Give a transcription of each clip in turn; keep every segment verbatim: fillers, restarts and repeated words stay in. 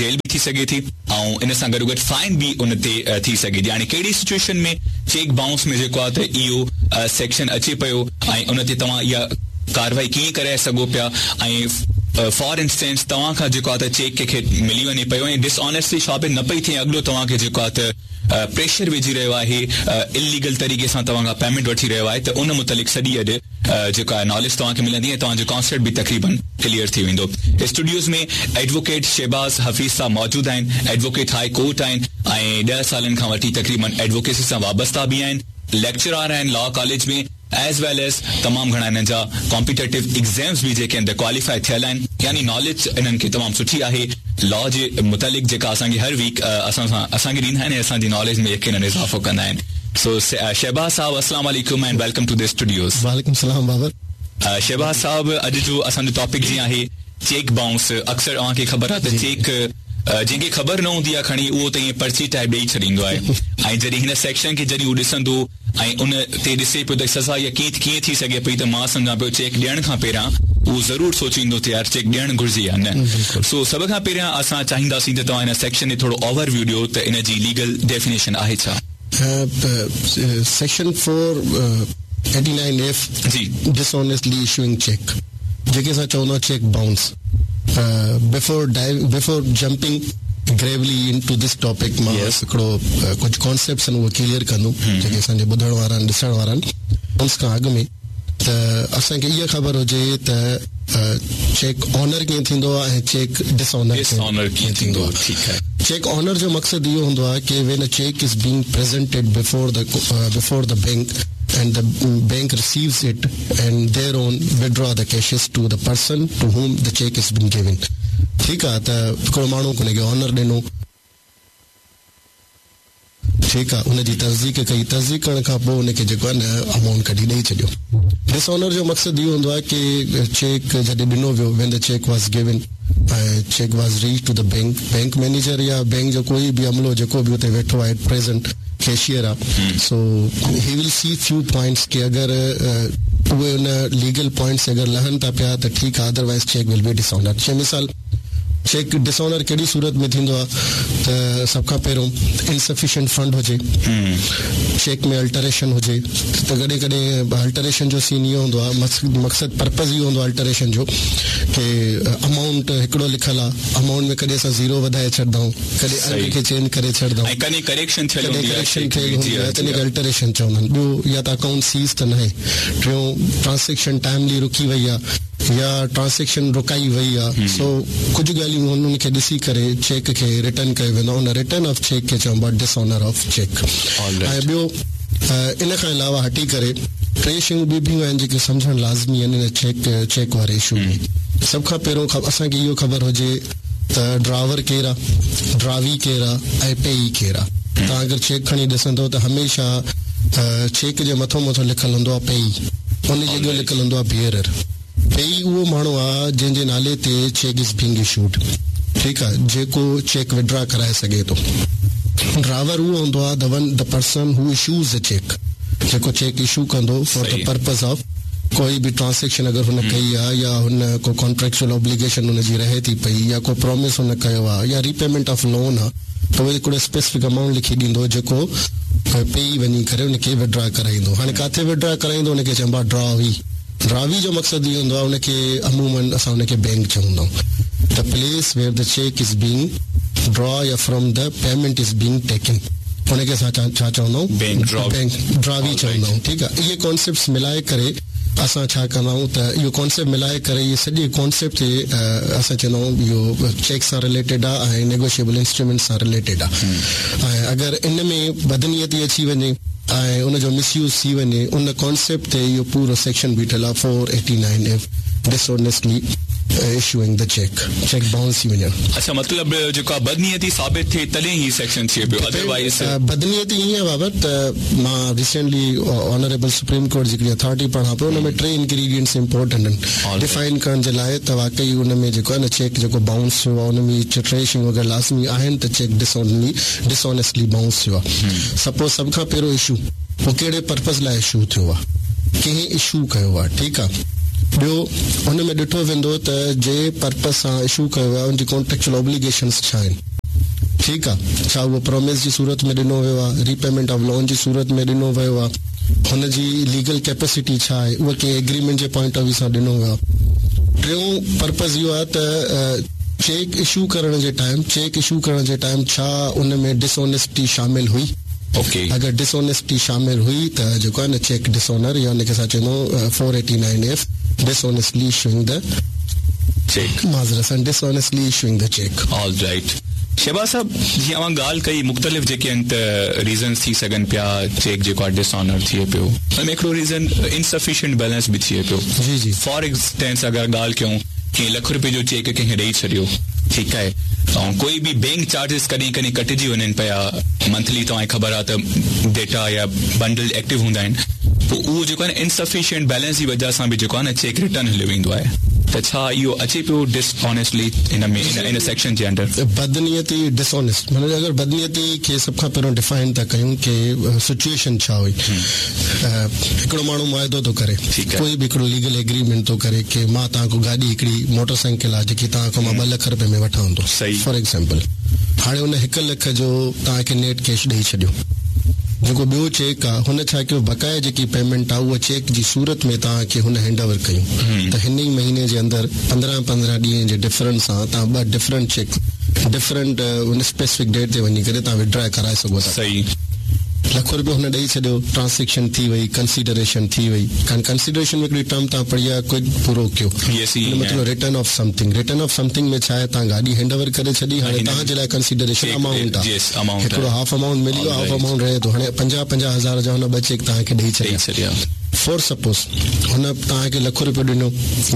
Jail به ٿي سگهي ٿي ۽ ان سان گڏوگڏ فائن به ان تي ٿي سگهي ٿي. هاڻي ڪهڙي سچوئيشن ۾ چيڪ بائونس ۾ جيڪو آهي ته اهو سيڪشن اچي پيو ۽ ان تي توهان اها ڪارروائي ڪيئن ڪرائي سگهو پيا ۽ فار انسٽنس توهان کان جيڪو آهي ته چيڪ ڪنهن کي ملي وڃي پيو ۽ ڊس آنيسٽلي ثابت نه پئي ٿئي، اڳلو توهان کي جيڪو آهي ته پريشر وجهي رهيو آهي، اليگل طريقي سان توهان کان پيمينٽ وٺي رهيو آهي ته ان متعلق سڄي اڄ جيڪو آهي ناليج توهان کي ملندي ۽ توهان جو ڪانسيپٽ به تقريبن ڪليئر ٿي ويندو. اسٽوڊيوز ۾ ايڊووڪيٽ شهباز حفيظ صاحب موجود آهن، ايڊووڪيٽ هاء ڪورٽ آهن ۽ ڏهه سالن کان وٺي تقريبن ايڊووڪيسي سان وابسته به آهن، ليڪچرار آهن law college ۾ as well as تمام گهڻا انهن جا ڪامپيٽيٽو ايگزامز به جيڪي آهن ته ڪواليفائي ٿيل آهن، يعني ناليج انهن کي تمام سٺي آهي لا جي متعلق جيڪا اسان کي هر ويڪ اسان سان اسان کي ڏيندا آهن ۽ اسان جي ناليج ۾ يقينن اضافو ڪندا آهن. سو شهباز صاحب السلام عليڪم and welcome to the studios. وعليڪم السلام بابر. شهباز صاحب اڄ جو اسان جو ٽاپڪ جيئن آهي چيڪ بائونس، اڪثر اوهان کي خبر آهي ته چيڪ جنهن کي خبر نه هوندي آهي کڻي اهو ته ائين پرچي ٽائپ ڏيئي ڇڏيندو آهي ۽ جڏهن هن سيڪشن کي جڏهن هو ڏسندو ۽ ان تي ڏسي پيو ته سزا اها ڪيئن ڪيئن ٿي سگهي پئي ته مان سمجهان پيو چيڪ ڏيڻ کان پهريان اهو ضرور سوچيندو ته يار چيڪ ڏيڻ گهرجي يا نه. سو سڀ کان پهريان اسان چاهينداسين ته توهان هن سيڪشن تي ٿورو اوور ويو ڏيو ته ان جي ليگل ڊيفينيشن آهي ڇا؟ Section four eighty nine F جي ڊسآنيسٽلي اشوئنگ چيڪ، جيڪي اسان چوندا آهيون cheque bounce. Before before jumping gravely into this topic مان هڪڙو ڪجهه ڪانسيپٽس آهن اهي ڪليئر ڪندم جيڪي اسان جي ٻڌڻ وارا آهن ڏسڻ وارا آهن. بائونس کان اڳ ۾ ته اسان کي اها خبر هجي ته چيڪ آنر ڪيئن ٿيندو آهي ۽ چيڪ ڊس آنر ڪيئن ٿيندو آهي. چيڪ آنر جو مقصد اهو هوندو آهي ڪي when a cheque is being presented before the before the bank and the bank receives it and thereon withdraw the cashes to the person to whom the cheque is been given. ٺيڪ آ ته هڪڙو ماڻهو ان کي honour ڏنو، ٺيڪ آ ان جي تصديق ڪئي، تصديق ڪرڻ کان پوء ان کي جيڪو آهي نه امائونٽ ڪڍي ڏئي ڇڏيو. ڊس آنر جو مقصد اهو هوندو آهي ڪي چيڪ جڏهن ڏنو ويو، when the cheque was given ۽ cheque was reach to the bank, bank manager يا بينڪ جو ڪوئي به عملو جيڪو به اتي ويٺو آهي ايٽ پريزنٽ ڪيشيئر آ، so he will see few points ڪي اگر اهي ان ليگل پوائنٽس اگر لهن ٿا پيا ته ٺيڪ آ، otherwise cheque will be dishonour. جي مثال چيڪ ڊس آنر ڪهڙي صورت ۾ ٿيندو آ ته سڀ کان پهريون انسفيشنٽ فنڊ هجي، چيڪ ۾ الٽريشن هجي ته ڪڏهن ڪڏهن الٽريشن جو سين اهو هوندو آ، مقصد پرپز اهو هوندو آ الٽريشن جو ڪي امائونٽ هڪڙو لکيل آ، امائونٽ ۾ ڪڏهن اسان زيرو وڌائي ڇڏندا آهيون، ڪڏهن انگ کي چينج ڪري ڇڏندا آهيون، ۽ ڪڏهن ڪريڪشن ٿيل ڪڏهن هوندي آهي ڪريڪشن ٿيل هوندي آهي تنهن کي الٽريشن چوندا آهن. ٻيو يا ته اڪائونٽ سيز ته ناهي، ٽيون ٽرانسيڪشن ٽائملي رڪي وئي آ يا ٽرانسيڪشن رڪائي وئي آ، سو ڪجهه ڳالهيون هن ان کي ڏسي ڪري چيڪ کي ريٽرن ڪيو ويندو آهي، ان ريٽرن آف چيڪ کي چئبو آهي ڊس آنر آف چيڪ. ۽ ٻيو ان کان علاوه هٽي ڪري ٽي شيون ٻيون به آهن جيڪي سمجهڻ لازمي آهن ان چيڪ چيڪ واري اشو ۾. سڀ کان پهريون اسان کي اهو خبر هجي ته ڊراور ڪير آ، ڊراوي ڪير آ ۽ پيئي ڪير آ. توهان اگر چيڪ کڻي ڏسندو ته هميشه چيڪ جي مٿو مٿو لکيل هوندو آ پيئي، ان جي اڳيون لکيل هوندو آ بيئرر. پيئي اهو ماڻهو آ جنهن جي نالي تي چيڪ is being issued, ٺيڪ آ، جيڪو چيڪ وڊرا ڪرائي سگهي ٿو. ڊراور اهو هوندو آ the one the person who issues the cheque, جيڪو چيڪ اشو ڪندو فار the purpose of ڪوئي به ٽرانسيڪشن اگر هن ڪئي آ يا هن ڪو ڪانٽريڪچوئل اوبليگيشن هن جي رهي ٿي پئي يا ڪو پرامس هن ڪيو آ يا ريپيمينٽ آف لون آ ته اهو هڪڙو اسپيسفڪ امائونٽ لکي ڏيندو جيڪو پيئي وڃي ڪري ان کي وڊرا ڪرائيندو. هاڻي ڪاٿي وڊرا ڪرائيندو ان کي چئبو آ ڊراوي. ڊراوي جو مقصد اهو هوندو آ ان کي عموماً اسان ان کي بينڪ چوندا آهيون the place where the cheque is being draw يا from the payment is being taken ان کي اسان ڇا چوندا آهيون بينڪ ڊراوي چوندا آهيون. ٺيڪ آ، اهي ڪانسيپٽس ملائي ڪري اسان ڇا ڪندا آهيون ته اهو ڪانسيپٽ ملائي ڪري اهي سڄي ڪانسيپٽ تي اسان چوندا آهيون اهو چيڪ سان رليٽيڊ آ ۽ نيگوشيبل انسٽرومينٽ سان رليٽيڊ آ ۽ اگر ان ۾ بدنيتي اچي وڃي ۽ ان جو مس يوز ٿي وڃي ان ڪانسيپٽ تي اهو پورو سيڪشن بيٺل آ four eighty nine F dishonestly issuing the cheque, cheque bounce ٿي وڃڻ. اڇا مطلب جيڪو آ بدنيتي ثابت ٿئي تڏهن هي سيڪشن ٿئي پيو ادروائيز. بدنيتي ائين آ بابر ته مان ريسينٽلي آنريبل سپريم ڪورٽ جي هڪڙي اٿارٽي پڙهان پيو ان ۾ ٽي انگريڊينٽس امپورٽنٽ آهن ڊفائن ڪرڻ جي لاء ته واقعي ان ۾ جيڪو آ نه چيڪ جيڪو بائونس ٿيو آ ان ۾ اهي ٽي شيون اگر لازمي آهن ته چيڪ ڊسآنلي ڊسآنيسٽلي بائونس ٿيو آ. سپوز سڀ کان پهريون اشو اهو ڪهڙي پرپز لاء اشو ٿيو آ، ڪنهن اشو ڪيو آ، ٺيڪ آ، ٻيو هن ۾ ڏٺو ويندو ته جنهن پرپز سان اشو ڪيو ويو آهي ان جي ڪانٽريڪچوئل اوبليگيشنس ڇا آهن. ٺيڪ آهي، ڇا اهو پرومس جي صورت ۾ ڏنو ويو آهي، ريپيمينٽ آف لون جي صورت ۾ ڏنو ويو آهي، هن جي ليگل ڪيپيسٽي ڇا آهي، اهو ڪنهن ايگريمينٽ جي پوائنٽ آف ويو سان ڏنو ويو آهي. ٽيون پرپز اهو آهي ته چيڪ اشو ڪرڻ جي ٽائيم چيڪ اشو ڪرڻ جي ٽائيم ڇا ان ۾ ڊسآنيسٽي شامل هئي. اوڪي، اگر ڊسآنيسٽي شامل هئي ته جيڪو آهي نه چيڪ ڊسآنر يا ان کي اسان چوندا آهيون four eighty nine F dishonestly issuing the cheque, معذرت سان dishonestly issuing the cheque. All right Shahbaz صاحب، جيئن اوهان ڳالهه ڪئي مختلف جيڪي آهن ته ريزنس ٿي سگهن پيا چيڪ جيڪو آهي ڊسآنر ٿئي پيو، ان ۾ هڪڙو ريزن انسفيشنٽ بيلنس به ٿئي پيو. جي جي، فار انسٽنس اگر ڳالهه ڪيون ڪنهن لک رپئي جو چيڪ ڪنهن کي ڏيئي ڇڏيو، ٺيڪ آهي، ۽ ڪوئي به بينڪ چارجز ڪڏهن ڪڏهن ڪٽجي وڃن پيا منٿلي، توهان کي خبر آهي ته ڊيٽا يا بنڊل ايڪٽو هوندا آهن، پوءِ اهو جيڪو آهي نه انسفيشنٽ بيلنس جي وجهه سان به جيڪو آهي نه چيڪ ريٽرن هليو ويندو آهي. ته ڇا اهو اچي پيو ڊسآنيسٽلي هن ۾ ان سيڪشن جي انڊر؟ بدنيتي ڊسآنيسٽ معنيٰ اگر بدنيتي کي سڀ کان پهريون ڊفائن ٿا ڪيون ڪه سچوئيشن ڇا هئي. هڪڙو ماڻهو معاهدو ٿو ڪري، ڪوئي به هڪڙو ليگل ايگريمينٽ ٿو ڪري ڪه مان توهان کان گاڏي هڪڙي موٽر سائيڪل آهي جيڪي توهان کان مان ٻه لک رپئي ۾ وٺان ٿو، فار ايگزامپل، هاڻي هن هڪ لک جو توهان کي نيٽ ڪيش ڏيئي ڇڏيو، جيڪو ٻيو چيڪ آهي هن ڇا ڪيو بقايا جيڪي پيمينٽ آهي اها چيڪ جي صورت ۾ توهان کي هن هينڊ اوور ڪيون، ته هن ئي مهيني جي اندر پندرهن پندرهن ڏينهن جي ڊفرنس سان توهان ٻه ڊفرنٽ چيڪ ڊفرنٽ ان اسپيسفڪ ڊيٽ تي وڃي ڪري توهان وڊرا ڪرائي سگهو ٿا. صحيح، لک رپيو هن ڏيئي ڇڏيو، ٽرانزيڪشن ٿي وئي، ڪنسيڊريشن ٿي وئي. ڪنسيڊريشن ۾ هڪڙي ٽرم توهان پڙهي آهي ڪوئي پورو ڪيو، مطلب return of something. Return of something ۾ ڇا آهي، توهان گاڏي هينڊ اوور ڪري ڇڏي، هاڻي توهان جي لاءِ ڪنسيڊريشن امائونٽ آهي، هڪڙو هاف امائونٽ ملي ويو، هاف امائونٽ رهي ٿو. هاڻي پنجاهه پنجاهه هزار جا هن ٻه چيڪ توهان کي ڏيئي ڇڏيا. فار سپوز هن توهان کي لک رپيو ڏنو،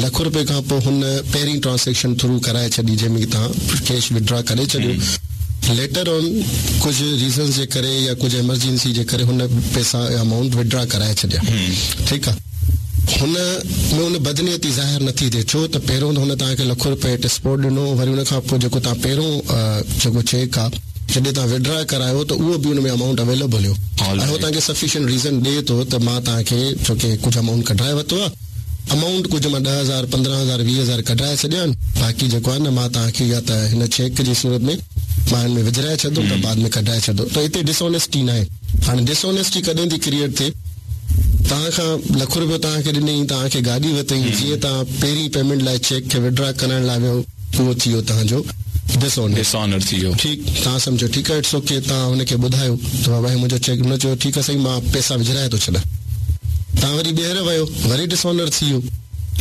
لک رپئي کان پوءِ هن پهرين ٽرانزيڪشن ٿرو ڪرائي ڇڏي جنهن ۾ توهان ڪيش وڊرا ڪري ڇڏيو، ليٽر آن ڪجهه ريزنس جي ڪري يا ڪجهه ايمرجنسي جي ڪري هن پئسا يا امائونٽ وڊرا ڪرائي ڇڏيا. ٺيڪ آهي، هن ۾ هن بدنيتي ظاهر نٿي ٿئي، ڇو ته پهريون ته هن توهان کي لک رپئي هيٺ سپورٽ ڏنو، وري هن کان پوءِ جيڪو توهان پهريون جيڪو چيڪ آهي جڏهن توهان وڊرا ڪرايو ته اهو به هن ۾ امائونٽ اويليبل هيو، ۽ اهو توهان کي سفيشنٽ ريزن ڏئي ٿو ته مان توهان کي ڇو ڪه ڪجهه امائونٽ ڪڍائي ورتو آهي، امائونٽ ڪجهه مان ڏهه هزار پندرهن هزار ويهه هزار ڪڍائي ڇڏيا آهن، باقي جيڪو آهي نه مان توهان کي يا ته هن چيڪ جي صورت ۾ مان هن ۾ وجهرائي ڇڏندم ته بعد ۾ ڪڍائي ڇڏندو. ته هتي ڊسآنيسٽي نه آهي. هاڻي ڊسآنيسٽي ڪڏهن ٿي ڪريئيٽ ٿئي، توهان کان لک رپيو توهان کي ڏنئي، توهان کي گاڏي ورتئي، جيئن توهان پهرين پيمينٽ لاءِ چيڪ کي وڊرا ڪرڻ لاءِ ويو، اهو ٿي ويو توهان جو ڊسآنر ٿي ويو. ٺيڪ، توهان سمجهو ٺيڪ آهي، it's okay. توهان هن کي ٻڌايو ته بابا هي منهنجو چيڪ، هن چيو ٺيڪ آهي سائين مان پئسا وجهرائي ٿو ڇڏيان. توهان وري ٻيهر ويو، وري ڊسآنر ٿي ويو،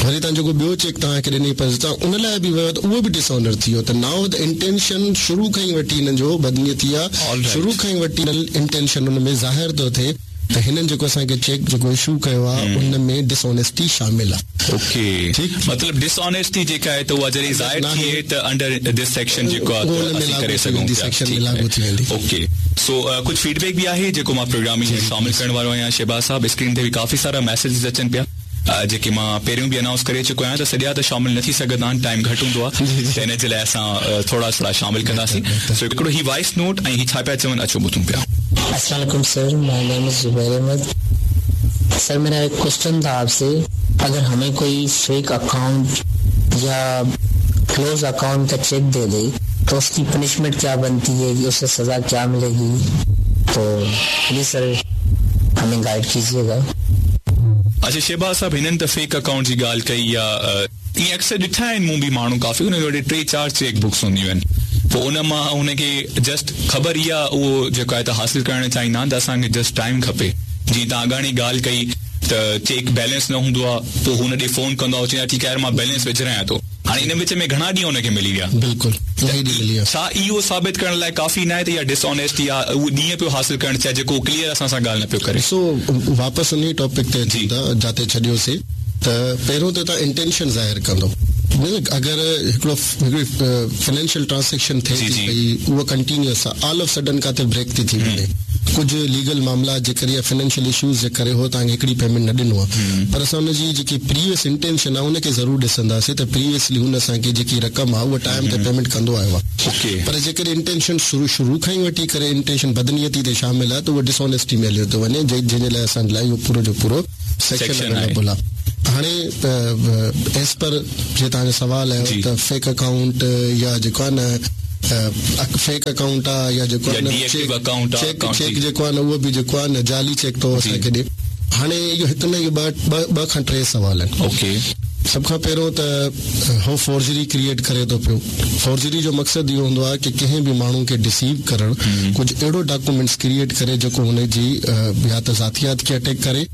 وري توهان جيڪو ٻيو چيڪ توهان کي ڏنئي پر توهان ان لاءِ به ويو ته اهو به ڊسآنر ٿي ويو. ته نائو the intention شروع کان ئي وٺي هنن جو بدنيتي آهي، شروع کان ئي وٺي انٽينشن هن ۾ ظاهر ٿو ٿئي ته هنن جيڪو اسان کي چيڪ جيڪو اشو ڪيو آهي ان ۾ ڊسآنيسٽي شامل آهي. اوڪي، مطلب ڊسآنيسٽي جيڪا آهي ته اها جڏهن ظاهر ٿئي ته انڊر this section جيڪو آهي اسين ڪري سگهون ٿا. سيڪشن ۾ لاڳو ٿي ويندي. اوڪي، سو ڪجهه فيڊ بيڪ به آهي جيڪو مان پروگرام ۾ شامل ڪرڻ وارو آهيان. شهباز صاحب، اسڪرين تي به ڪافي سارا ميسيجز اچن پيا جيڪي مان پهريون به انائونس ڪري چڪو آهيان ته سڄا ته شامل نه ٿي سگهندا آهن، ٽائيم گهٽ هوندو آهي، ته ان جي لاءِ اسان ٿورا ٿورا شامل ڪنداسين. سو هڪڙو هي وائس نوٽ ۽ هي ڇا پيا چون، اچو ٻڌون پيا. अस्सलाम वालेकुम sir, my name is Zubair Ahmed. Sir मेरा एक क्वेश्चन था आपसे, अगर हमें कोई फेक अकाउंट या क्लोज अकाउंट का चेक दे दे तो उसकी पनिशमेंट क्या बनती है, उसे सज़ा क्या मिलेगी? तो प्लीज़ सर हमें गाइड कीजिएगा। अच्छा शहबाज साहब, हिननि त फेक अकाउंट जी ॻाल्हि कई या ईअं अक्सर ॾिठा आहिनि मूं बि माण्हू काफ़ी हुननि वटि टे चारि चेक बुक्स हूंदियूं आहिनि, पोइ उन मां हुनखे जस्ट ख़बर इहा उहो जेको आहे त हासिल करणु चाहींदा आहिनि त असांखे जस्ट टाइम खपे। जीअं तव्हां अॻाणी ॻाल्हि कई त चेक बैलेंस न हूंदो आहे, पोइ हुन ॾे फोन कंदो आहे, चवंदो आहे ठीकु आहे मां बैलेंस विझरायां थो। हाणे इन विच में घणा ॾींहं हुनखे मिली विया। बिल्कुलु छा इहो साबित करण लाइ काफ़ी न आहे त इहा डिसऑनेस्टी आहे, उहो ॾींहं पियो हासिल करणु चाहे जेको क्लियर असां सां ॻाल्हि न पियो करे? सो वापसि उन टॉपिक ते अचूं था जाते छॾियोसीं। त पहिरियों त तव्हां इंटेंशन ज़ाहिर कंदो, अगरि हिकिड़ो हिकिड़ी फाइनेंशियल ट्रांज़ैक्शन थिए थी पई उहा कंटिन्यूअस आहे, ऑल ऑफ सडन काथे ब्रेक थी थी वञे, कुझु लीगल मामला जे करे या फाइनेंशियल इशूज़ जे करे हो तव्हांखे हिकिड़ी पेमेंट न ॾिनो आहे, पर असां हुनजी जेकी प्रीवियस इंटेंशन आहे हुनखे ज़रूरु ॾिसंदासीं त प्रीवियसली हुन असांखे जेकी रक़म आहे उहा टाइम ते पेमेंट कंदो आयो आहे। पर जेकॾहिं इंटेंशन शुरू शुरू खां ई वठी करे इंटेंशन बदनीयती ते शामिल आहे त उहो डिसऑनेस्टी में हलियो थो वञे, जंहिंजे लाइ असांजे लाइ इहो पूरो जो पूरो सेक्शन अवेलेबल आहे। हाणे एज़ पर जे तव्हांजो सवाल आहे त फेक अकाउंट या जेको आहे न फेक अकाउंट आहे या जेको आहे न चेक चेक जेको आहे न उहो बि जेको आहे न जाली चेक थो असांखे ॾिए। हाणे इहो हिकु न इहो ॿ ॿ खां टे सवाल आहिनि। ओके, सभ खां पहिरियों त हो फोर्जरी क्रिएट करे थो पियो। फोर्जरी जो मक़सदु इहो हूंदो आहे की कंहिं बि माण्हू खे डिसीव करणु, कुझु अहिड़ो डॉक्यूमेंट्स क्रिएट करे जेको हुनजी या त ज़ातियात खे अटैक करे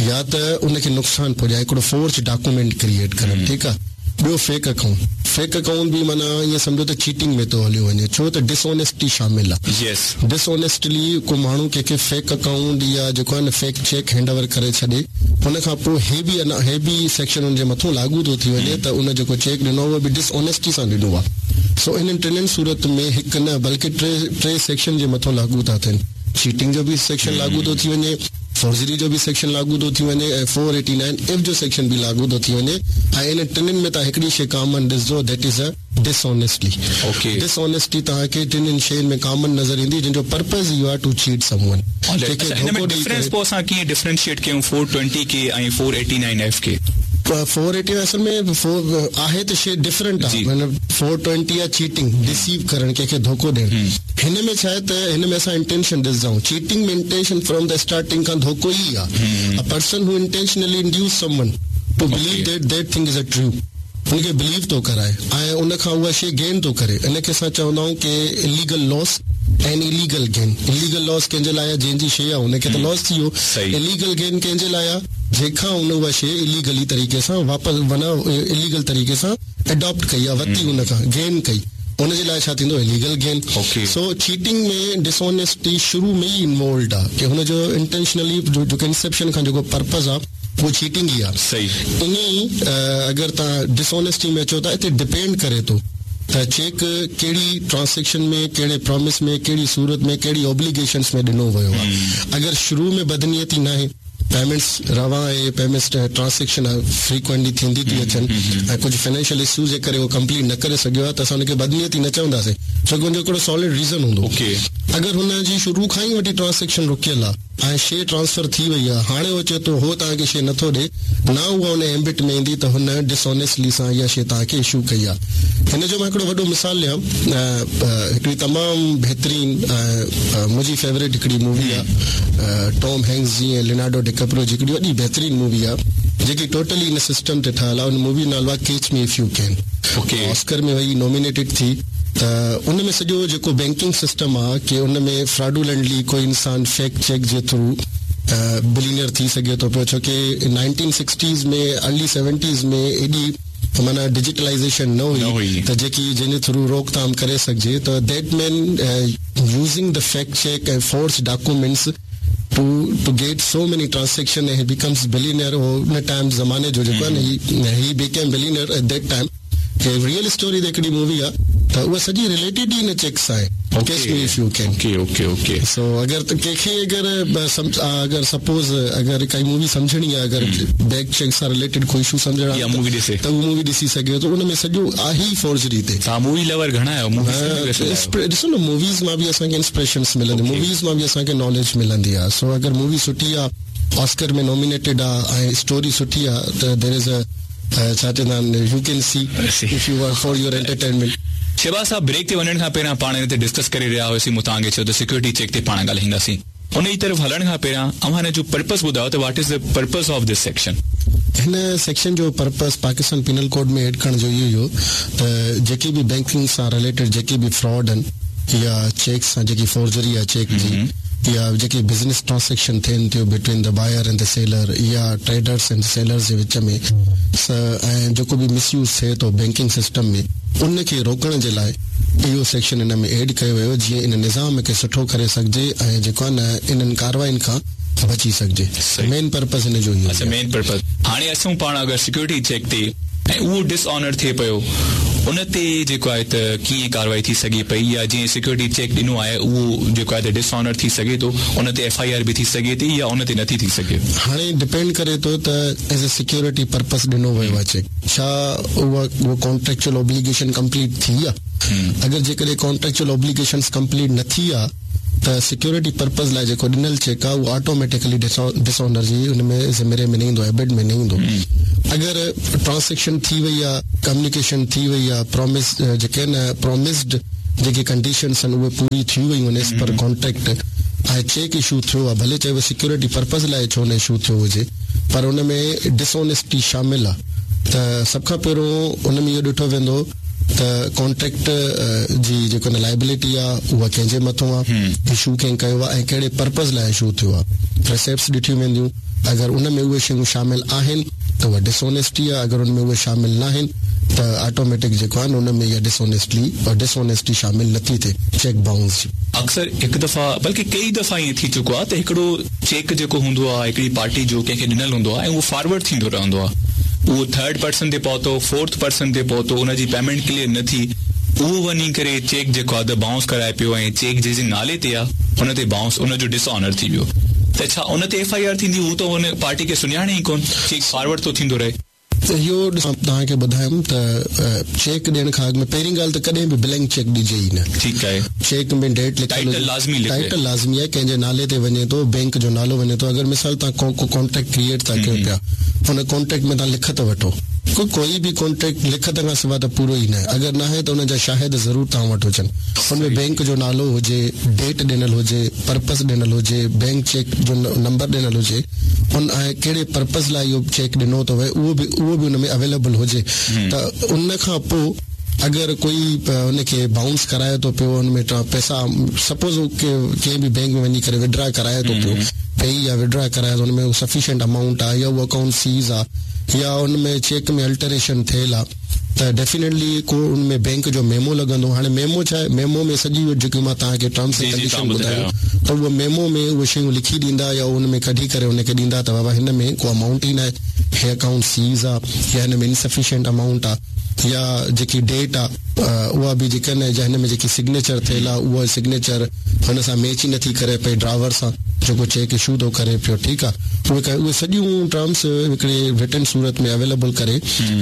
या त उनखे नुक़सानु पहुचाए, हिकिड़ो फोर्ज डॉक्यूमेंट क्रिएट करणु, ठीकु आहे। ॿियो फेक अकाउंट, फेक अकाउंट बि माना ईअं सम्झो त चीटिंग में थो हलियो वञे, छो त डिसऑनेस्टी शामिल आहे। यस, डिसऑनेस्टली को माण्हू कंहिंखे फेक अकाउंट या जेको आहे न फेक चेक हैंड ओवर करे छॾे, हुन खां पोइ हे बि हे बि सेक्शन हुनजे मथां लागू थो थी वञे त उन जेको चेक ॾिनो उहो बि डिसऑनेस्टी सां ॾिनो आहे। सो इन्हनि टिनिनि सूरत में हिकु न बल्कि टे टे सेक्शन जे मथां लागू था थियनि। चीटिंग जो बि सेक्शन लागू थो थी वञे, फोर्जरी जो बि सेक्शन लागू थो थी वञे ऐं फोर एटी नाइन एफ जो सेक्शन बि लागू थो थी वञे। ऐं इन टिनिनि में तव्हां हिकिड़ी शइ कॉमन ॾिसजो, that is a dishonesty. Okay, dishonesty तव्हांखे टिनिनि शयुनि में कॉमन नज़र ईंदी, जंहिंजो पर्पज़ इहो आहे टू चीट समवन। डिफरेंस पोइ असां कीअं डिफरेंशिएट कयूं फोर ट्वेंटी के ऐं फोर एटी नाइन एफ खे? फोर एटी असल में फोर आहे त शइ डिफरेंट आहे, माना फोर ट्वेंटी आहे चीटिंग, डिसीव करणु, कंहिंखे धोखो ॾियणु। हिन में छा आहे त हिन में असां इंटेंशन ॾिसंदा आहियूं। चीटिंग में इंटेंशन फ्रॉम the starting खां धोखो ई आहे। A person who intentionally induce someone to believe that that thing is a true, हुनखे बिलीव थो कराए ऐं उन खां उहा शइ गेन थो करे, इनखे असां चवंदा आहियूं की illegal loss and illegal gain. Illegal loss कंहिंजे लाइ आहे? जंहिंजी शइ आहे हुनखे त लॉस थी वियो। इलीगल गेन कंहिंजे लाइ आहे? जंहिंखां हुन उहा शइ इलीगली तरीक़े सां वापसि माना इलीगल तरीक़े सां अडॉप्ट कई आहे, वरिती हुन खां गेन कई, हुनजे लाइ छा थींदो? Illegal gain. सो चीटिंग में डिसऑनेस्टी शुरू में ई इन्वॉल्व आहे की हुनजो इंटेंशनली जेको इंसेप्शन खां जेको पर्पज़ आहे उहो चीटिंग ई आहे। सही, ईअं ई अगरि तव्हां डिसऑनेस्टी में अचो था, हिते डिपेंड करे थो त चेक कहिड़ी ट्रांज़ैक्शन में, कहिड़े प्रॉमिस में, कहिड़ी सूरत में, कहिड़ी ऑब्लिगेशंस में ॾिनो वियो आहे। अगरि शुरू में बदनीयती न आहे, पेमेंट्स रवां आहे, पेमेंट्स ट्रांज़ैक्शन फ्रीक्वेंटली थींदी थी अचनि ऐं कुझु फाइनेंशियल इश्यूज़ जे करे उहो कंप्लीट न करे सघियो आहे त असां हुनखे बदनीयती न चवंदासीं, छो की हुनजो हिकिड़ो सॉलिड रीज़न हूंदो। अगरि हुनजी शुरू खां ई वठी ट्रांज़ैक्शन रुकियल आहे ऐं शइ ट्रांसफर थी वई आहे, हाणे उहो चए थो हो तव्हांखे शइ नथो ॾिए, न उहा हुन एम्बिट में ईंदी त हुन डिसऑनेस्टली सां इहा शइ तव्हांखे इशू कई आहे। हिन जो मां हिकिड़ो वॾो मिसाल ॾियां, हिकिड़ी तमामु बहितरीन मुंहिंजी फेवरेट हिकिड़ी मूवी आहे टॉम हैंक्स जी ऐं लियोनार्डो डिकैप्रियो जी, हिकिड़ी वॾी बहितरीन मूवी आहे जेकी टोटली इन सिस्टम ते ठहियलु आहे। उन मूवी जो नालो आहे catch me if you can. Okay, Oscar में वई नॉमिनेटेड थी। त उन में सॼो जेको बैंकिंग सिस्टम आहे की उन में फ्रॉडुलेंटली कोई इंसान फेक चेक जे थ्रू बिलियनर थी सघे थो पियो, छो की नाइनटीन सिक्सटीज़ में अर्ली सेवेंटीज़ में एॾी माना डिजिटलाइजेशन न हुई त जेकी जंहिंजे थ्रू रोकथाम करे सघिजे। त that man using the fake cheque ऐं forge documents to to get so many transaction he becomes billionaire. हो उन टाइम ज़माने जो जेको आहे न he became billionaire at that time. Real story ते हिकिड़ी मूवी आहे त उहा सॼी रिलेटेड ई इन चेक्स आहे। Catch me if you can. Okay okay okay. So अगरि त कंहिंखे अगरि अगरि सपोज़ अगरि काई मूवी सम्झणी आहे, अगरि बैंक चेक सां रिलेटेड कोई इशू सम्झणु आहे मूवी ॾिसे त उहो मूवी ॾिसी सघे थो। उन में सॼो आहे ई फोर्जरी ते। तव्हां मूवी लवर घणा आहियो? ॾिसो न मूवीज़ मां बि असांखे इंस्पिरेशन्स मिलंदी, मूवीज़ मां बि असांखे नॉलेज मिलंदी आहे। सो अगरि मूवी सुठी आहे, ऑस्कर में नॉमिनेटेड आहे ऐं स्टोरी सुठी आहे त there is a छा चवंदा आहिनि, you can see if you are for your entertainment. Shahbaz साहब, ब्रेक ते वञण खां पहिरियां पाण हिन ते डिस्कस करे रहिया हुआसीं, मूं तव्हांखे चयो त सिक्योरिटी चेक ते पाण ॻाल्हाईंदासीं। उन जी तरफ़ हलण खां पहिरियां अव्हां हिन जो पर्पस ॿुधायो त what is the purpose of this section? हिन सेक्शन जो पर्पस पाकिस्तान पीनल कोड में एड करण जो इहो हुयो त जेके बि बैंकिंग सां रिलेटेड जेके बि फ्रॉड आहिनि या चेक सां जेकी फोर्जरी आहे चेक जी या जेके बिज़नेस ट्रांज़ैक्शन थियनि थियूं between the buyer and the seller या ट्रेडर्स एंड सेलर्स जे विच में ऐं जेको बि मिसयूज़ थिए थो बैंकिंग सिस्टम में, उनखे रोकण जे लाइ इहो सेक्शन हिन में एड कयो वियो जीअं इन निज़ाम खे सुठो करे सघिजे ऐं जेको आहे न इन्हनि कार्रवाइयुनि खां बची सघिजे। मेन पर्पस हिन जो इहो। अच्छा, मेन पर्पस। हाणे असूं पाण अगरि सिक्योरिटी चेक ते ऐं उहो डिसऑनर थिए पियो, उन ते जेको आहे त कीअं कार्रवाई थी सघे पई, या जीअं सिक्योरिटी चेक ॾिनो आहे उहो जेको आहे त डिसऑनर थी सघे थो, उन ते एफ I R बि थी सघे थी या उन ते नथी थी सघे? हाणे डिपेंड करे थो त एज ए सिक्योरिटी पर्पस ॾिनो वियो आहे चेक, छा उहा उहो कॉन्ट्रेक्चुअल ऑब्लिगेशन कंप्लीट थी आहे? अगरि जेकॾहिं कॉन्ट्रेक्चुअल ऑब्लिगेशंस कंप्लीट न थी आहे त सिक्योरिटी पर्पज़ लाइ जेको ॾिनल चेक आहे उहो ऑटोमेटिकली डिसऑनर जी उन में ज़िम्मेरे में न ईंदो, एबिट में न ईंदो। अगरि ट्रांज़ैक्शन थी वई आहे, कम्युनिकेशन थी वई आहे, प्रॉमिस जेके आहिनि प्रॉमिस्ड जेके कंडीशन्स आहिनि उहे पूरी थी वयूं आहिनि एज़ पर कॉन्ट्रैक्ट ऐं चेक इशू थियो आहे, भले चाहे सिक्योरिटी पर्पज़ लाइ छो न इशू थियो हुजे, पर उन में डिसऑनेस्टी शामिल आहे। त सभ खां पहिरियों उन में इहो ॾिठो वेंदो त कॉन्ट्रैक्ट जी जेको लाइबिलिटी आहे उहा कंहिंजे मथां आहे, इशू कंहिं कयो आहे ऐं कहिड़े पर्पज़ लाइ इशू थियो आहे। रिसिप्ट्स ॾिठियूं वेंदियूं, अगरि उन में उहे शयूं शामिल आहिनि त उहा डिसऑनेस्टी आहे, अगरि उन में उहे शामिल न आहिनि त ऑटोमेटिक जेको आहे उन में इहा डिसऑनेस्टली डिसऑनेस्टी शामिल नथी थिए चेक बाउंस जी। अक्सर हिकु दफ़ा बल्कि कई दफ़ा ईअं थी चुको आहे त हिकिड़ो चेक जेको हूंदो आहे हिकिड़ी पार्टी जो कंहिंखे ॾिनल हूंदो आहे ऐं उहो फॉरवर्ड थींदो रहंदो आहे, उहो थर्ड पर्सन ते पहुतो, फोर्थ पर्सन ते पहुतो, उनजी पेमेंट क्लियर न थी, उहो वञी करे चेक जेको आहे त बाउंस कराए पियो ऐं चेक जंहिंजे नाले ते आहे उन ते बाउंस उनजो डिसऑनर थी वियो, त छा उन ते एफ I R थींदी? हू त उन पार्टी खे सुञाणे ई कोन, चेक फॉरवर्ड थो थींदो रहे। इहो तव्हांखे ॿुधायुमि त चेक ॾियण खां अॻु में पहिरीं ॻाल्हि त कॾहिं बि ब्लैंक चेक ॾिजे ई न। ठीकु आहे, चेक में डेट लिखियल लाज़मी, टाइटल लाज़मी आहे, कंहिंजे नाले ते वञे थो, बैंक जो नालो वञे थो। अगरि मिसाल तव्हां को कॉन्ट्रैक्ट क्रिएट था कयो पिया, हुन कॉन्ट्रैक्ट में तव्हां लिखत वठो, को कोई बि कॉन्ट्रैक्ट लिखत खां सवाइ त पूरो ई न आहे, अगरि न आहे त हुनजा शाहिद ज़रूरु तव्हां वटि हुजनि। हुन में बैंक जो नालो हुजे, डेट ॾिनल हुजे, पर्पज़ ॾिनल हुजे, बैंक चेक जो नंबर ॾिनल हुजे, उन ऐं कहिड़े पर्पज़ लाइ इहो चेक ॾिनो थो वए उहो बि उहो बि हुन में अवेलेबल हुजे। त उन खां पोइ अगरि कोई हुनखे बाउंस कराए थो पियो, हुन में पैसा सपोज़ कंहिं बि बैंक में वञी करे विड्रा कराए थो पियो, पे या विड्रा कराए थो, हुन में सफिशिएंट अमाउंट आहे या उहो अकाउंट सीज़ आहे या उन में चेक में अल्टरेशन थियल आहे, त डेफिनेटली को उन में बैंक जो मेमो लॻंदो। हाणे मेमो छा आहे, मेमो में सॼी जेकी मां तव्हांखे टर्म्स एंड कंडीशन ॿुधायो त उहो मेमो में उहे शयूं लिखी ॾींदा या उन में कढी करे हुनखे ॾींदा त बाबा हिन में को अमाउंट ई न आहे, हे अकाउंट सीज़ आहे या हिन में इनसफिशिएंट अमाउंट आहे या जेकी डेट आहे उहा बि जेका न या हिन में जेकी सिग्नेचर थियल आहे उहा सिग्नेचर हुन सां मैच ई नथी करे पई ड्राइवर सां जेको चेक इशू थो करे पियो। ठीकु आहे, उहे उहे सॼियूं टर्म्स हिकिड़े रिटन सूरत में अवेलेबल करे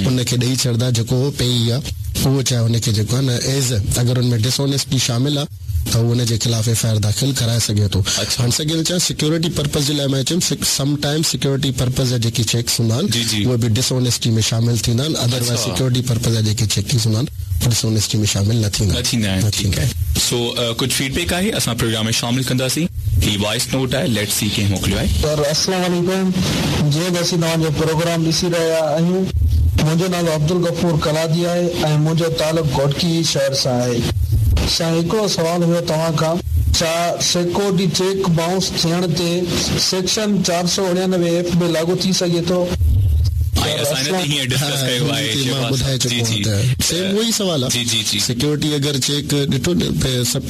हुनखे ॾेई छॾंदा, जेको पेई आहे उहो चाहे हुनखे जेको आहे न एज़ अगरि हुन में डिसऑनेस्टी शामिल आहे त उहो हुनजे ख़िलाफ़ एफ I R दाख़िल कराए सघे थो। हाणे सघे छा सिक्योरिटी पर्पज़ जे लाइ मां चयुमि समटाइम सिक्योरिटी पर्पज़ जा जेके चेक्स हूंदा आहिनि उहे बि डिसऑनेस्टी में शामिल थींदा आहिनि, अदरवाइज़ सिक्योरिटी पर्पज़ जा जेके चेकिंग्स हूंदा आहिनि डिसऑनेस्टी में शामिल न थींदा थींदा आहिनि। ठीकु आहे, सो कुझु फीडबैक आहे असां प्रोग्राम में शामिल कंदासीं। ही वॉइस नोट आहे, let's see कंहिं मोकिलियो आहे। सर अस्सलाम वालेकुम, जीअं त असीं तव्हांजो प्रोग्राम ॾिसी रहिया आहियूं, मुंहिंजो नालो अब्दुल गफ़ूर कलादी आहे ऐं मुंहिंजो तालुक़ घोटकी शहर सां आहे। सां हिकिड़ो सवाल हुयो तव्हां खां, छा सिक्योरिटी चेक बाउंस थियण ते सेक्शन चारि सौ उणानवे एफ में लागू थी सघे थो? सवाल आहे सिक्योरिटी अगरि चेक ॾिठो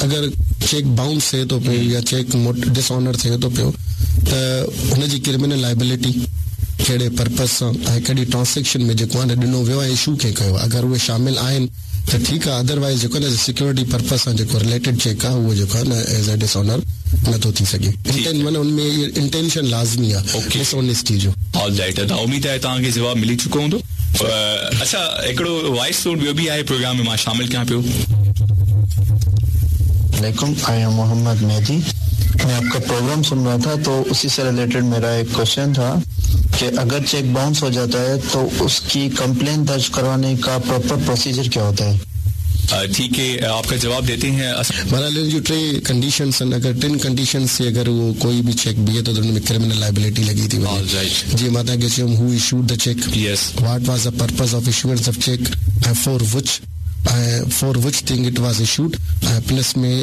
अगरि चेक बाउंस थिए थो पियो या चेक डिसऑनर थिए थो पियो त हुनजी क्रिमिनल लाइबिलिटी कहिड़े पर्पज़ सां ऐं कहिड़ी ट्रांज़ैक्शन में जेको आहे न ॾिनो वियो आहे, इशू कंहिं कयो, अगरि उहे शामिल आहिनि त ठीकु आहे, अदरवाइज़ जेको आहे न सिक्योरिटी पर्पज़ सां जेको रिलेटेड चेक आहे उहो जेको आहे न एज़ अ डिसऑनर नथो थी सघे। माना हुन में इंटेंशन लाज़मी आहे डिसऑनेस्टी जो। ऑल राइट, त उम्मीद आहे तव्हांखे जवाबु मिली चुको हूंदो। अच्छा, हिकिड़ो वॉइस नोट ॿियो बि आहे प्रोग्राम में मां शामिल कयां पियो। वालेकुम, I am Mohammad Mehdi. मैं आपका प्रोग्राम सुन रहा था तो उसी से रिलेटेड मेरा एक क्वेश्चन था कि अगर चेक बाउंस हो जाता है तो उसकी कंप्लेन दर्ज करवाने का प्रॉपर प्रोसीजर क्या होता है? ठीक है, आपका जवाब देते हैं। बहरहाल जो टे कंडीशंस आहिनि, अगरि टिनि कंडीशंस ते अगरि उहो कोई बि चेक बीहे थो त हुन में क्रिमिनल लाइबिलिटी लॻी थी वञे। जीअं मां तव्हांखे चयुमि, who issued the cheque, what was the purpose of issuance of cheque ऐं for which for which thing it was issued, plus में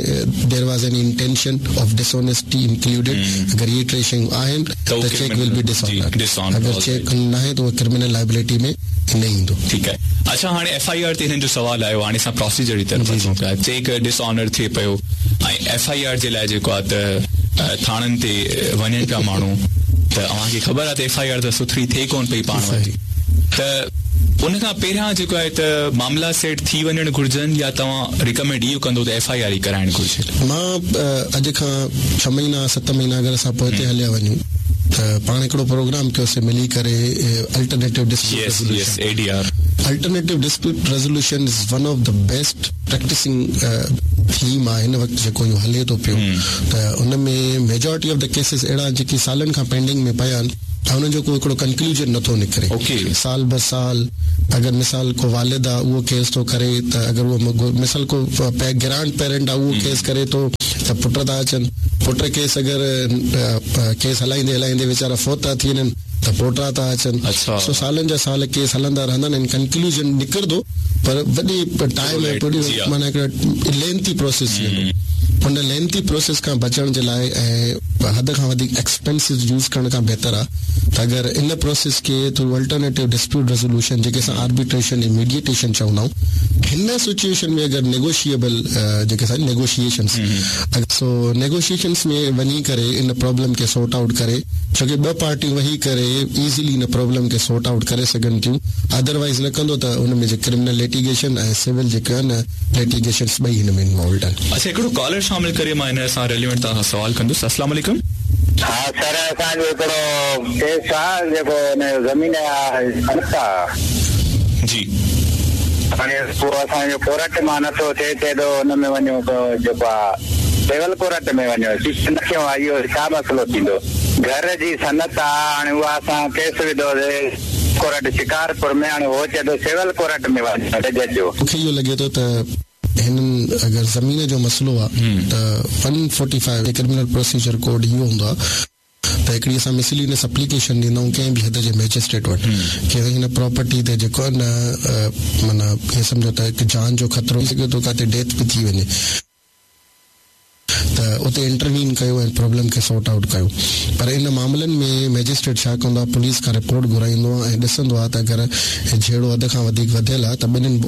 there was an intention of dishonesty included. अगरि इहे टे शयूं आहिनि त चेक will be dishonoured, अगरि check न आहे त उहो क्रिमिनल लाइबिलिटी में न ईंदो। ठीकु आहे। अच्छा, हाणे एफ I R ते हिननि जो सवालु आयो, हाणे असां प्रोसीजर जी तरफ़ अचूं पिया। चेक डिसऑनर थिए पियो ऐं एफ I R जे लाइ जेको आहे त थाणनि ते वञनि पिया माण्हू, त अव्हांखे ख़बर आहे त एफ I R त सुथरी थिए कोन पई पाण वटि, त उन खां पहिरियां जेको आहे त मामला सेट थी वञणु घुर्जनि या तव्हां रिकमेंड इहो कंदो त एफ I R ई कराइणु घुर्जे? मां अॼु खां छह महीना सत महीना अगरि असां पोइते हलिया वञूं त पाण हिकिड़ो प्रोग्राम कयोसीं मिली करे alternative dispute A D R, Alternative dispute resolution is one of the best practicing theme आहे हिन वक़्तु जेको इहो हले थो पियो। त उन में मेजॉरिटी ऑफ the cases अहिड़ा जेके सालनि खां पेंडिंग में पिया आहिनि ऐं उन्हनि जो को हिकिड़ो कंक्लूजन नथो निकिरे। ओके। साल ब साल अगरि मिसाल को वालिद आहे उहो केस थो करे त अगरि उहो मिसाल को ग्रैंड पेरेंट आहे उहो केस करे थो त पुट था अचनि, पुट केस अगरि केस हलाईंदे हलाईंदे वीचारा फौत था थी वञनि त पोटा था अचनि। अच्छा। सो सालनि जा साल केस हलंदा रहंदा आहिनि, कंक्लूजन निकिरंदो पर वॾी टाइम ऐं माना हिकिड़ो लेंथी प्रोसेस थी वेंदो। उन लेंथी प्रोसेस खां बचण जे लाइ ऐं हद खां वधीक एक्सपेंसिव यूज़ करण खां बहितर आहे त अगरि इन प्रोसेस खे थ्रू अल्टरनेटिव डिस्प्यूट रेज़ोल्यूशन जेके असां आर्बिट्रेशन ऐं मीडिएटेशन चवंदा आहियूं, हिन सिचुएशन में अगरि नेगोशिएबल जेके असां नेगोशिएशन्स, सो नेगोशिएशन्स में वञी करे इन प्रॉब्लम खे सॉर्ट आउट करे, छो की ॿ पार्टियूं वेही करे ईज़िली इन प्रॉब्लम खे सॉर्ट आउट करे सघनि थियूं। अदरवाइज़ न कंदो त उन में जेके क्रिमिनल लिटिगेशन ऐं सिविल जेके आहिनि लिटिगेशन्स ॿई हिन में इन्वॉल्वड आहिनि। अच्छा, हिकिड़ो कॉलर शामिल करे मां हिन सां रेलिवेंट तव्हां खां सवाल कंदुसि। अस्सलाम वालेकुम। हा सर, असांजो हिकिड़ो केस आहे जेको हिन ज़मीन आहे जी, हाणे पोइ असांजो कोर्ट मां नथो थिए, चए थो हुन में वञो जेको आहे सिविल कोर्ट में वञो, न कयो आहे, इहो छा मसइलो थींदो? घर जी सनत आहे, हाणे उहा असां केस विधोसीं कोर्ट शिकारपुर में, हाणे उहो चए थो सिविल कोर्ट में वञो जज जो। मूंखे इहो लॻे थो त हिननि अगरि ज़मीन जो मसइलो आहे त one forty five criminal procedure code इहो हूंदो आहे त हिकिड़ी असां मिसलिनियस एप्लीकेशन ॾींदा आहियूं कंहिं बि हद जे मैजिस्ट्रेट वटि की हिन प्रॉपर्टी ते जेको आहे न माना ईअं सम्झो त हिकु जान जो ख़तरो थी सघे थो, किथे डेथ बि थी वञे त उते इंटरवीन कयो ऐं प्रॉब्लम खे सॉर्ट आउट कयो। पर इन मामलनि में मैजिस्ट्रेट छा कंदो आहे, पुलिस खां रिपोर्ट घुराईंदो आहे ऐं ॾिसंदो आहे त अगरि झेड़ो हद खां वधीक वधियल आहे त ॿिन्हिनि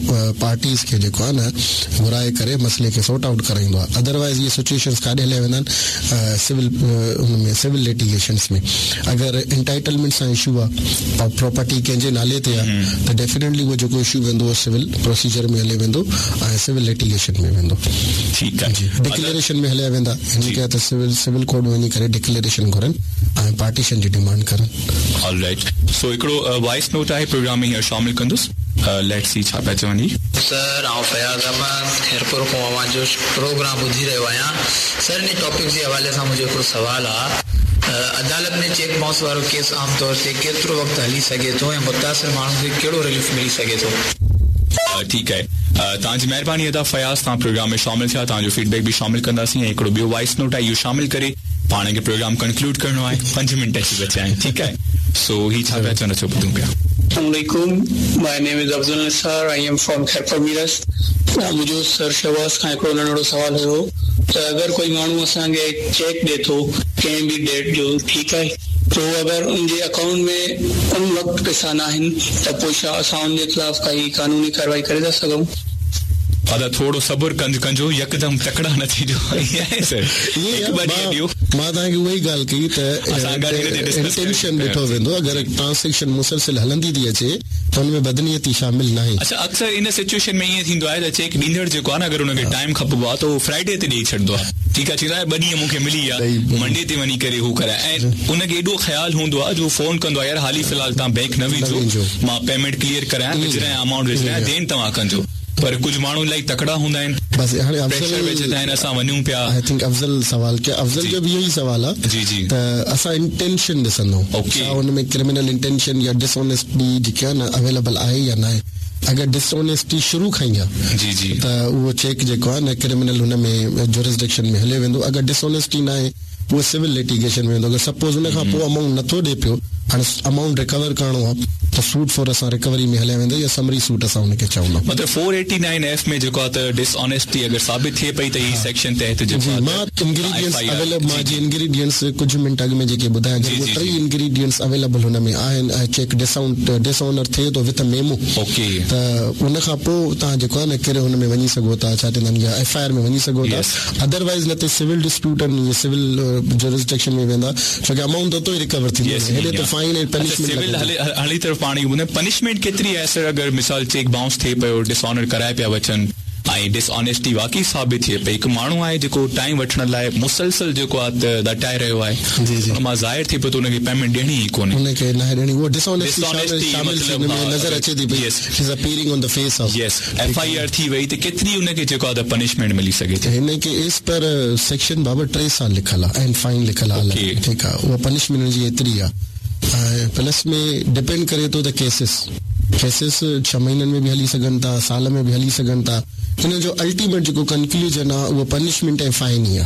पार्टीज़ खे जेको आहे न घुराए करे मसइले खे सॉर्ट आउट कराईंदो आहे। अदरवाइज़ इहे सिचुएशन्स काॾे हलिया वेंदा आहिनि, सिविल हुन में सिविल लिटिगेशन्स में। अगरि इंटाइटलमेंट सां इशू आहे, प्रॉपर्टी कंहिंजे नाले ते आहे त डेफिनेटली उहो जेको इशू वेंदो उहो सिविल प्रोसीजर में हले वेंदो ऐं सिविल लिटिगेशन में वेंदो। ठीकु आहे जी, डिक्लेरेशन में हलिया वेंदा। हिन खे त सिविल सिविल कोर्ट में वञी करे डिक्लेरेशन घुरनि ऐं पार्टीशन जी डिमांड करनि। ऑलराइट, सो हिकिड़ो वॉइस नोट आहे प्रोग्राम में हींअर शामिल कंदुसि, let's see छा पिया चवनि। सर, आउं फयाज़ अहमद ख़ैरपुर खां अव्हांजो प्रोग्राम ॿुधी रहियो आहियां। सर, इन टॉपिक जे हवाले सां मुंहिंजो हिकिड़ो सुवालु आहे, अदालत में चेक बाउंस वारो केस आम तौर ते केतिरो वक़्तु हली सघे थो ऐं मुतासिर माण्हू खे कहिड़ो रिलीफ मिली सघे थो? ठीकु आहे, तव्हांजी महिरबानी अदा फयाज़, तव्हां प्रोग्राम में शामिल थिया, तव्हांजो फीडबैक बि शामिल कंदासीं ऐं हिकिड़ो ॿियो वॉइस नोट आहे इहो शामिल करे पाण खे प्रोग्राम कंक्लूड करिणो आहे, पंज मिंट अची बचिया आहिनि। ठीकु आहे, सो ही छा पिया चवनि, अचो ॿुधूं पिया। अस्सलामुअलैकुम, my name is Afzal Nisar, I am from Khairpur Mirs. मुंहिंजो सर शहबाज़ खां हिकिड़ो नंढड़ो सुवालु हुयो त अगरि कोई माण्हू असांखे चेक ॾिए थो कंहिं बि डेट जो, ठीकु आहे, तो अगरि उनजे अकाउंट में उन वक़्तु पैसा न आहिनि त पोइ छा असां उनजे ख़िलाफ़ काई कानूनी कार्रवाई करे था सघूं? अदा थोरो सब्र कंज कंजो, यकदम तकड़ा न थीजो। सर, हिकु ॿ ॾींहं ॾियो। मां तव्हांखे उहा ई ॻाल्हि कई त इंटेंशन ॾिठो वेंदो, अगरि ट्रांज़ेक्शन मुसलसिल हलंदी थी अचे त हुन में बदनीयती शामिल न आहे। अच्छा, अक्सर इन सिचुएशन में ईअं थींदो आहे त चेक ॾींदड़ जेको आहे न, अगरि हुनखे टाइम खपबो आहे त उहो फ्राइडे ते ॾेई छॾींदो आहे। ठीकु आहे, चवंदो आहे ॿ ॾींहं मूंखे मिली विया, मंडे ते वञी करे हू कराए, ऐं उनखे एॾो ख़्यालु हूंदो आहे जो फ़ोन कंदो आहे, यार हाली फ़िलहाल तव्हां बैंक न विझो, मां पेमेंट क्लियर करायां, विझरायां अमाउंट विझरायां, then तव्हां कंजो। पर कुझु माण्हू इलाही तकड़ा हूंदा आहिनि, बसि हाणे प्रेशर विझंदा आहिनि, असां वञूं पिया। I think Afzal सवाल कयो, अफ़ज़ल जो बि इहो ई सवाल आहे जी जी, त असां इंटेंशन ॾिसंदा आहियूं, छा हुन में क्रिमिनल इंटेंशन या डिसऑनेस्टी जेकी आहे न अवेलेबल आहे या न आहे। अगरि डिसऑनेस्टी शुरू खां ई आहे जी जी, त उहो चेक जेको आहे न क्रिमिनल हुन में जुरिस्डिक्शन में हले वेंदो। अगरि डिसऑनेस्टी न आहे उहो सिविल लिटिगेशन में वेंदो। अगरि सपोज़ हुन खां पोइ अमाउंट नथो ॾिए पियो, हाणे अमाउंट रिकवर करिणो आहे त सूट फॉर असां रिकवरी में हलिया वेंदा या समरी सूट असां हुनखे चवंदा। मतिलबु फोर एटी नाइन एफ में जेको आहे त डिसऑनेस्टी अगरि साबित थिए पई त ही सेक्शन तहत जेको आहे, मां इंग्रीडिएंट्स अवेलेबल, मां जी इंग्रीडिएंट्स कुझु मिंट अॻु में जेके ॿुधाया, उहे टे इंग्रीडिएंट्स अवेलेबल हुन में आहिनि ऐं चेक डिसआउंट डिसऑनर थिए थो विथ मेमो, ओके, त उन खां पोइ तव्हां जेको आहे न कहिड़े हुन में वञी सघो था, छा चवंदा आहिनि, एफ I R में वञी सघो था। अदरवाइज़ न त सिविल डिस्प्यूट आहिनि, सिविल जुरिस्डिक्शन में वेंदा, छो की अमाउंट त उतो ई रिकवर थींदो, हेॾे त फाइन ऐं पनिशमेंट। सिविल हली तरफ़ पाण ॿुधायो, पनिशमेंट केतिरी आहे सर? अगरि मिसाल चेक बाउंस थिए पियो, डिसऑनर कराए पिया वचनि, ऐं डिसऑनेस्टी वाकई साबित थिए पई। हिकु माण्हू आहे जेको टाइम वठण लाइ मुसलसल जेको आहे त दटाए रहियो आहे, जी, जी। हुन मां ज़ाहिर थिए पियो त हुनखे पेमेंट ॾियणी ई कोन्हे, हुनखे न ॾियणी, उहो डिसऑनेस्टी Dishonesty शामिल मतलब, हुन में हा, नज़र अचे थी पई। Yes. Is appearing on the face of yes, F I R थी वई त केतिरी हुनखे जेको आहे त पनिशमेंट मिली सघे थी? हिन खे इस पर सेक्शन बाबति टे साल लिखियलु आहे ऐं फाइन लिखियलु आहे। Okay. ठीकु आहे, उहा पनिशमेंट हुनजी एतिरी आहे। ऐं प्लस में डिपेंड करे थो त केसिस केसिस छह महीननि में बि हली सघनि था, साल में बि हली सघनि था। हिन जो अल्टीमेट जेको कंक्लूजन आहे उहो पनिशमेंट ऐं फाइन ई आहे।